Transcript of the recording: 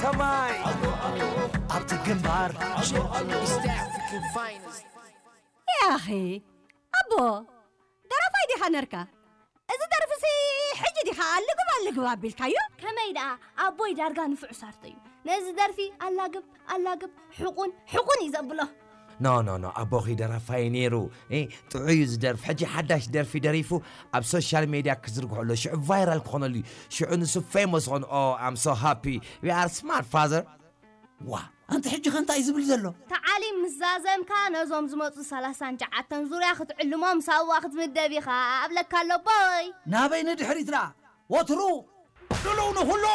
ከማይ ኣብቲ ግንባር East African finest. ያኺ ኣቦ ደራፋይ ዲኻ ነርካ? እዚ ደርፍሲ ሕጂ ዲኻ ኣልግብ ኣልግብ ኣቢልካዮ? ከመይ ደኣ ኣቦይ ዳርጋ ንፉዕ ሳርቶ እዩ። ነዚ ደርፊ ኣላግብ ኣላግብ ሕቑን ሕቑን እዩ ዘብሎ። ኖ ኖ ኖ ኣቦኺ ደራፋይ ነይሩ። ጥዑይ እዩ ዝደርፍ። ሕጂ ሓዳሽ ደርፊ ደሪፉ ኣብ ሶሻል ሜድያ ክዝርግሖ ኣሎ። ሽዑ ቫይራል ክኾነሉ እዩ። ሽዑ ንሱ ፌሞስ ኾኑ። Oh, I'm so happy. We are smart, father. ዋ ኣንቲ ሕጂ ከ እንታይ እዩ ዝብል ዘሎ? ተዓሊም ምስ ዛዘምካ ነዞም ዝመፁ ሰላሳን ትሽዓተን ዙርያ ክትዕልሞም ሳዋ ክትምደብ ኢኻ ኣብለካ ኣሎ ኣቦይ። ናበይ ንድሕሪት ደኣ ወትሩ ድልው ንኹሉ።